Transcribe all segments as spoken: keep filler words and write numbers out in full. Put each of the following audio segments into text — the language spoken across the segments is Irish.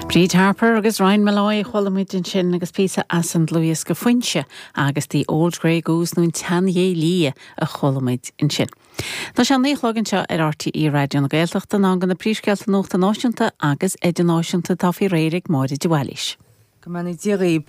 Bríd Harper agus Ryan Molloy chuala muid ansin agus píosa as an dlúthdhiosca Foinse agus The Old Grey Goose nó an tSeanghé Liath a chuala muid ansin. Tá sé naoi a chlog anseo ar RTÉ Raidió na Gaeltachta ná go na príomhscéalta nuachta náisiúnta agus idirnáisiúnta tá faoi réir ag Máire de Bhailís. Go mbeannaí Dia dhaoibh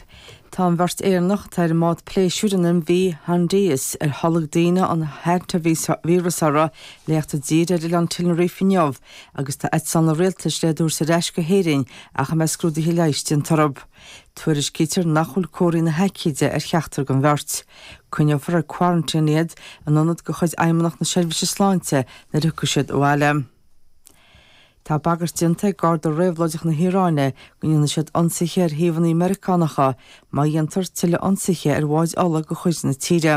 Tá an bheirt Éireannach atá ar an mbád pléisiúir an MV Hondius ar tholg daoine an hantavíreas orthu le theacht i dtír ar oileán Tenerife inniu agus tá eitleán an rialtais le iad a thabhairt ar ais go hÉirinn ach a mbeidh scrúduithe leighis déanta orthu. Tuairiscítear nach bhfuil comharthaí na haicíde ar cheachtar den bheirt. Coinneofar ar quarantine iad in ionad de chuid Fheidhmeannacht na Seirbhíse Sláinte nuair a thiocfaidh siad abhaile. Tá bagairt déanta ag Garda Réabhlóideach na hIaráine go ndéanfaidh siad ionsaithe ar shuíomhanna Meiriceánacha má dhéantar tuilleadh ionsaithe ar bháid ola de chuid na tíre.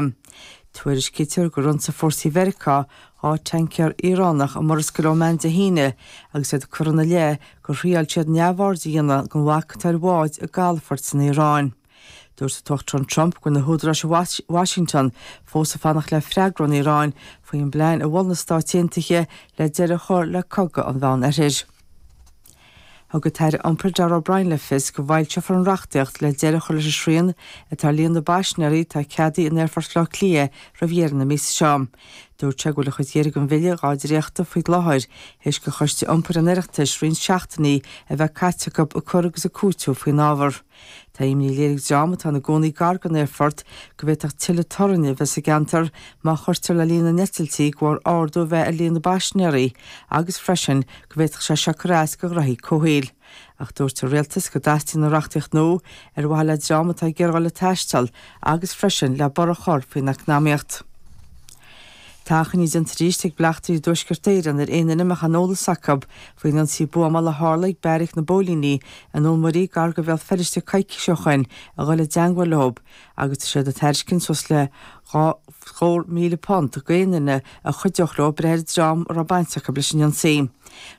Tuairiscítear gur ionsaigh fórsaí Mheiriceá dhá tancaer Iaránach i Murascaill Óman Dé hAoine agus iad curtha ina leith gur thriail siad neamhaird a dhéanamh den bhac atá ar bháid i gcalafort san Iaráin. Dúirt an tUachtarán Trump go bhfuil na húdaráis i Washington fós ag fanacht le freagra ón Iaráin faoin bplean a mhol na Stáit Aontaithe le deireadh a chur le cogadh an Mheánoirthir. Thug an tAire Iompair Darragh O'Brien le fios go bhfoilseofar an reachtaíocht le deireadh a chur leis an srian atá ar líon na bpaisinéirí atá ceadaithe in Aerfort Bhaile Átha Cliath roimh dheireadh na míosa seo. Dúirt sé go bhfuil an chuid dheiridh den bhille dhá dhréachtadh faoi láthair théis do Choiste Iompair an Oireachtais roinnt seachtainí a bheith caite acu ag cur agus ag cúiteamh faoin ábhar. Tá imní léirithe ag dream atá ina gcónaí gar don aerfort go bhféadfadh tuilleadh torainn a bheith sa gceantar má chuirtear le líon na n-eitiltí de bharr ardú a bheith ar líon na bpaisinéirí agus freisin go bhféadfadh sé seo cur as do ghnoithí comhshaoil. Ach dúirt an rialtas go dteastaíonn an reachtaíocht nua ar mhaithe le dream atá ag iarraidh le taisteal agus freisin le borradh a chur faoin eacnamaíocht. Tá achainí déanta arís ag bleachtairí i dTuaisceart Éireann ar aon duine a mbeadh aon eolas acu faoin ionsaí buamála a tharla ag beairic na bpóilíní i nDún Muirí gar do Bhéal Feirste coicís ó shin a dhul i dteagmháil leo agus tá siad ag tairiscint suas le dhá scór míle punt d'aon duine a chuideodh leo breith ar dhream a raibh baint acu leis an ionsaí.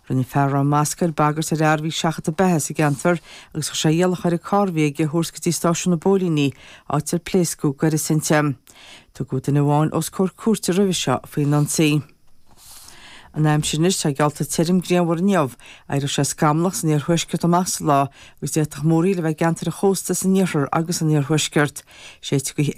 Rinne fear a raibh masc air bagairt ar fhear a bhí ag seachadadh beatha sa gceantar agus chuir sé iallach air an carr a bhí aige a thabhairt go dtí stáisiún na bpóilíní áit ar pléascadh gaireas inti. Tugadh duine amháin os comhair cúirte roimhe seo faoin ionsaí. An aimsir anois tá geallta tirim grianmhar inniu, éireoidh sé scamallach san iarthuaisceart amach sa lá agus d'fhéadfadh múraíl a bheith i gceantar an chósta san iarthar agus an iarthuaisceart. Séidfidh gaoth